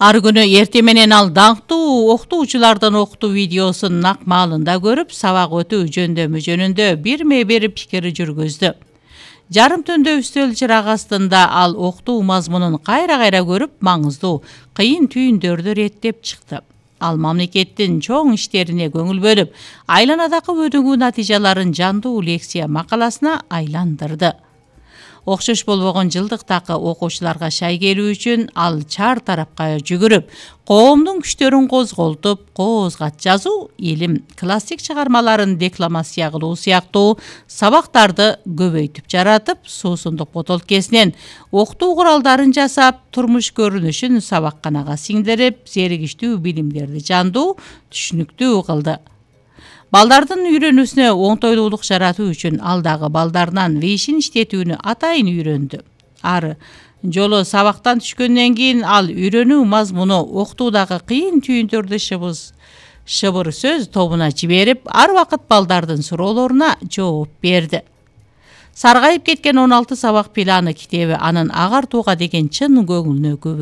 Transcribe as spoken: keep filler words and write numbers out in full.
Ар күнү эрте менен ал даңктуу окутуучулардын окутуу видеосун нак маалында көрүп, сабак өтүү жөндөмү жөнүндө бирме бир пикир жүргүздү. Жарым түндө үстөл чырак астында ал окутуу мазмунун кайра-кайра көрүп, маңыздуу, кыйын түйүндөрдү реттеп чыкты. Ал мамлекеттин чоң иштерине көңүл бөлүп, айланадагы өнүгүү натыйжаларын жандуу лекция макаласына айландырды. Окшош болбогон жылдык такы окуучуларга шай келүү үчүн ал чар тарапка жүгүрүп, коомдун күчтөрүн козголтуп, коозгат жазуу, илим, классик чыгармаларын декламация кылуу сыяктуу сабактарды көбөйтүп жаратып, суусундук ботолкесинен окутуу куралдарын жасап, турмуш көрүнүшүн сабакканага сиңдирип, зеригиштүү билимдерди жандуу, түшүнүктүү кылды. Балдардын үйрөнүүсүнө оңтойлуулук жаратуу үчүн ал дагы балдарынан вейшин иштетүүнү атайын үйрөндү. Ар жолу сабактан түшкөндөн кийин ал үйрөнүү мазмуну окутуудагы кыйын түйүндөрдү шыбыз шыбыр сөз тобуна жиберип, ар убакыт балдардын суроолоруна жооп берди. Саргайып кеткен он алты сабак планы китеби анын агартууга деген чын көңүлүнө күбө